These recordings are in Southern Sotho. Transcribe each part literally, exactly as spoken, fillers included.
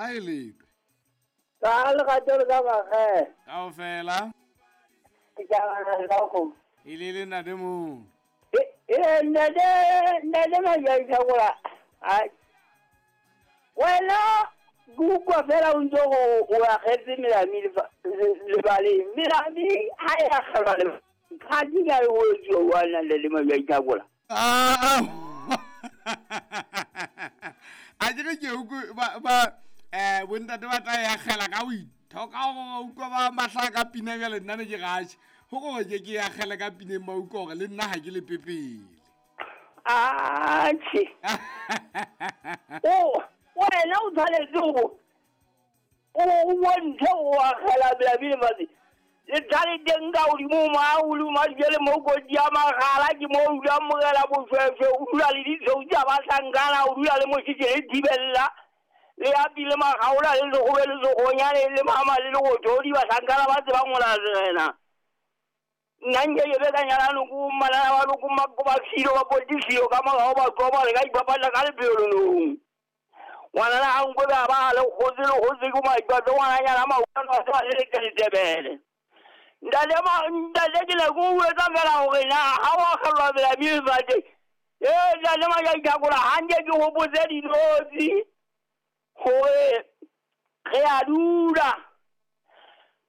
Kae lepe? Ka lerato le ka makgele. Kaofela. Ke tjabana le ka kgomo. E le le ntate mong. E ntate ntate Majaithakola. Ai. Wena ke utlwa fela o ntse o o akgetse melami lebaleng. Melami ha e akgelwa lebaleng. Ga di ka e o etsuwa wa nna le Majaithakola. Ah. A ke re ke utlwe ba ba eh bontate ba tla e akgela ka ho ithoka go utlwa ba mahla ka pina bjale nna ne ke gatše. Go gore ke ke e akgele ka pineng ba utlwa gore le nna ha ke le pepele. Atjhe. O wena o tshwanetse go o o bontshe o akgela melami lefatshe. Le tlhale teng ka hodimo ma o le ma jele mo kotsi ya magala ke mo o dulang morena boshweshwe o dula le ditshweu tsa bahlankana o dula le mošitše le thibella le api le magaola le legobe le segonyane le mama le legothodi bahlankana ba tsebang go latlhela. Nna nke ke be ka nyalano ko mmalana wa loko ko ba filo ba potisio ka morago ba tloba le ka ipapalla ka lepelonong. Ngwanana ga nkwe ba ba le kgotse le kgotse ke maipatlo ngwananyana mautwana a sa le letebele. Ntate ma ntate ke ne ke o etsa fela hore na ha o akgelwa melami lefatshe. Ee ntate Majaithakola hanke ke hopotse dinotshi hore re a dula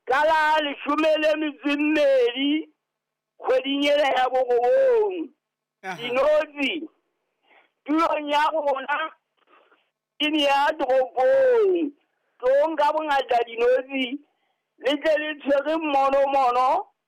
ka la leshome le metso e mmedi kgweding ena ya borobong. Dinotshi tulong ya rona ke ne ya toropong. Tlong ka bongata dinotshi le tle le tshwere mmonomono